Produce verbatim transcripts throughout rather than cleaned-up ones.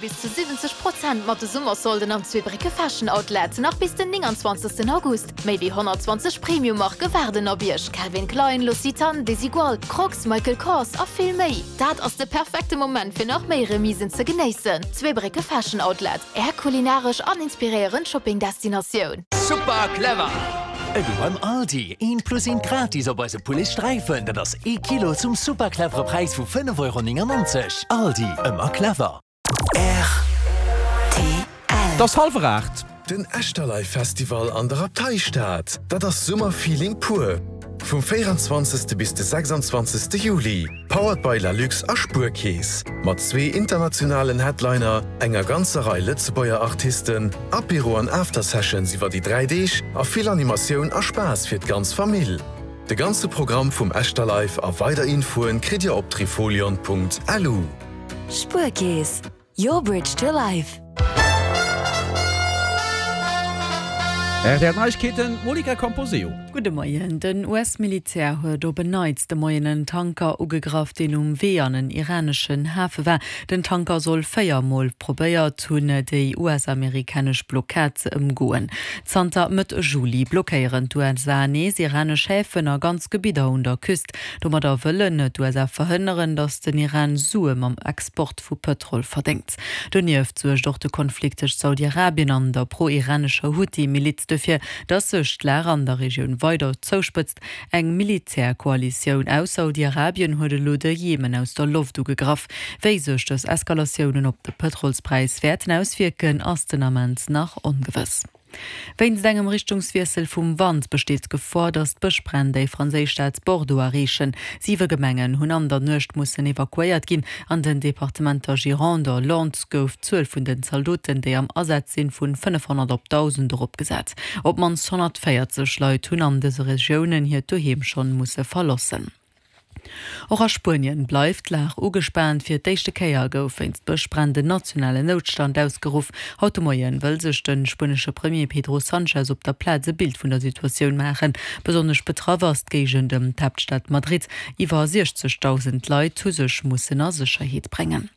Bis zu siwwenzeg Prozent mat de Summersolden am Zweebrécke Fashion Outlet, nach bis den nénganzwanzegsten August. Méi wéi honnertzwanzeg Premium-Marke waarden op Iech, Calvin Klein, L'Occitane, Desigual, Crocs, Michael Kors a vill méi. Dat ass de perfekte Moment fir nach méi Remisen ze genéissen. Zweebrécke Fashion Outlet, Är kulinaresch an inspiréierend Shopping-Destinatioun. Super clever! Elo beim Aldi, eent plus eent gratis op eise Pouletsträifen, dat ass ee Kilo zum super clevere Präis vu fënnef Euro néngannonzeg. Aldi, ëmmer clever. Rtl. Et ass hallwer aacht. Den Echterlive Festival an der Abteistad, dat ass Summerfeeling pur! Vum véieranzwanzegste bis de sechsanzwanzegste Juli, powered by Lalux a Spuerkeess, mat zwee internationalen Headliner, enger ganzer Rei Lëtzebuerger Artisten, Apéro an After-Sessions iwwer déi dräi Deeg a vill Animatioun a Spaass fir d'ganz Famill. De ganze Programm vum Echterlive a weider Infoen kritt Dir op trifolion.lu. Spuerkeess, your bridge to life. R T L Neiegkeeten, Monica Camposeo. Gudde Moien. Den U S-Militär huet op en Neits de Moien en Tanker ugegraff, deen um Wee an en iraneschen Hafe war. Den Tanker soll véier Mol probéiert hunn, déi U S-amerikanesch Blockad ze ëmgoen. Zanter Mëtt Juli blockéieren d'U S A nees iranesch Häfen a ganz Gebidder un der Küst. Domadder wëllen d'U S A verhënneren, datt den Iran Sue mam Export vu Pëtrol verdéngt. Donieft suergt och de Konflikt tëscht Saudi-Arabien an der pro-iranescher Huthi-Miliz dofir, datt sech d'Lag an der Regioun weider zouspëtzt. Eng Militärkoalitioun aus Saudi-Arabien huet elo de Jemen aus der Loft ugegraff. Wéi sech dës Eskalatiounen op de Pëtrolspräis wäerten auswierken, ass den Ament nach ongewëss. Wéinst engem Richtungswiessel vum Wand besteet d'Gefor, datt d'Bëschbränn déi franséisch Stad Bordeaux erreechen. Siwe Gemengen hunn an der Nuecht mussen evakuéiert ginn. An den Departementer Gironde a Landes gouf d'Zuel vun den Zaldoten, déi am Asaz sinn, vun fënnefhonnert op dausend eropgesat. Op d'mannst honnertvéierzeg Leit hunn an dëse Regiounen hiert Doheem schonn musse verloossen. Och a Spuenien bleift d'Lag ugespaant. Fir d'éischte Kéier gouf wéinst Bëschbränn den nationalen Noutstand ausgeruff. Haut de Moien wëll sech de spuenesche Premier Pedro Sanchez op der Plaz e Bild vun der Situatioun maachen. Besonnesch betraff ass d'Géigend ëm d'Haaptstad Madrid. Iwwer siechzegdausend Leit hu sech mussen a Sécherheet bréngen.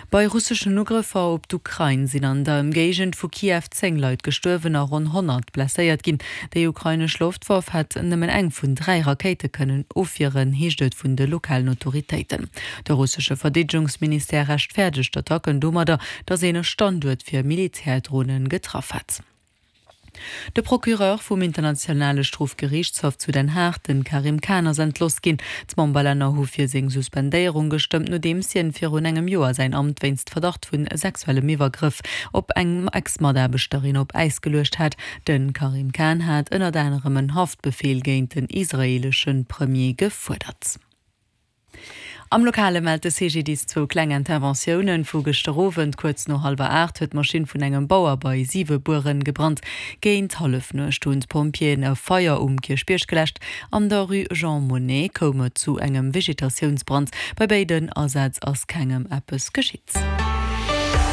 Bei russeschen Ugrëffer op d'Ukrain sinn an der Ëmgéigend vu Kiew zéng Leit gestuerwen a ronn honnert blesséiert ginn. Déi ukrainesch Loftwaff hätt nëmmen eng vun dräi Rakéite kënnen ofwieren, heescht et vun de lokalen Autoritéiten. De russesche Verdeedegungsministère rechtfäerdegt d'Attacken domadder, datt een e Standuert fir Militärdronen getraff hätt. De Procureur vum Internationale Strofgeriichtshaff zu Den Haag, den Karim Khan, ass entlooss ginn. D'Memberlänner hu fir seng Suspendéierung gestëmmt, nodeems hien virun engem Joer säin Amt wéinst Verdacht vu sexuellem Iwwergrëff op eng Ex-Mataarbechterin op Äis geluecht hat. De Karim Khan hat ënnert anerem en Haftbefeel géint den israeelesche Premier gefuerdert. Am Lokale mellt de C G D I S zwou kleng Interventiounen vu gëschter Owend. Kuerz no hallwer aacht huet d'Maschinn vun engem Bauer bei Siwebueren gebrannt. Géint Hallefnuecht hunn d'Pompjeeën e Feier um Kierchbierg geläscht. An der Rue Jean Monnet koum et zu engem Vegetatiounsbrand. Bei béiden Asätz ass kengem eppes geschitt.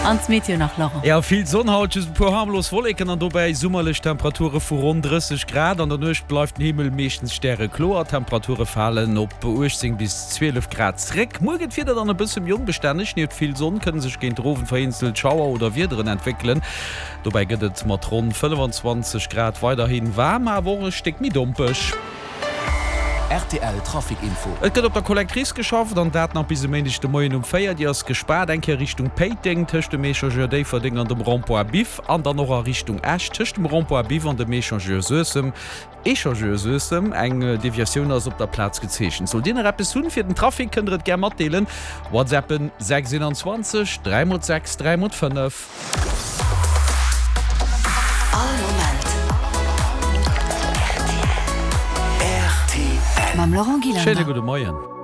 An d'Meteo nach, Laurent. Jo, vill Sonn haut, just e puer harmlos Wolleken an dobäi summerlech Temperature vu ronn drësseg Grad. An der Nuecht bleift den Himmel meeschtens stärekloer, d'Temperature falen op uechtzéng bis zwielef Grad zréck. Muer gëtt d'Wieder dann e bësse méi onbestänneg, nieft vill Sonn kënne sech géint den Owend vereenzelt Schauer oder Wiederen entwéckelen. Dobäi gëtt et mat ronn fënnefenzwanzeg Grad weiderhi waarm, awer och e Stéck méi dompeg. R T L Trafic Info. Et gëtt op der Collectrice geschafft an dat nach bis e Méindeg de Moien um véier. Déi ass gespaart, eng Kéier Richtung Péiteng tëscht dem Echangeur Déifferdeng an dem Rond-point Biff an dann och a Richtung Esch tëscht dem Rond-point Biff an dem Echangeur Suessem. Echangeur Suessem. Eng Deviatioun ass op der Plaz gezeechent. Sollt Dir nach eppes hunn fir den Trafic, kënnt der et gär matdeelen. WhatsAppen sechs eenanzwanzeg dräi mol sechs dräi mol fënnef. All Moment R T L. Mam Laurent Schéine Gillander. Gudde Moien.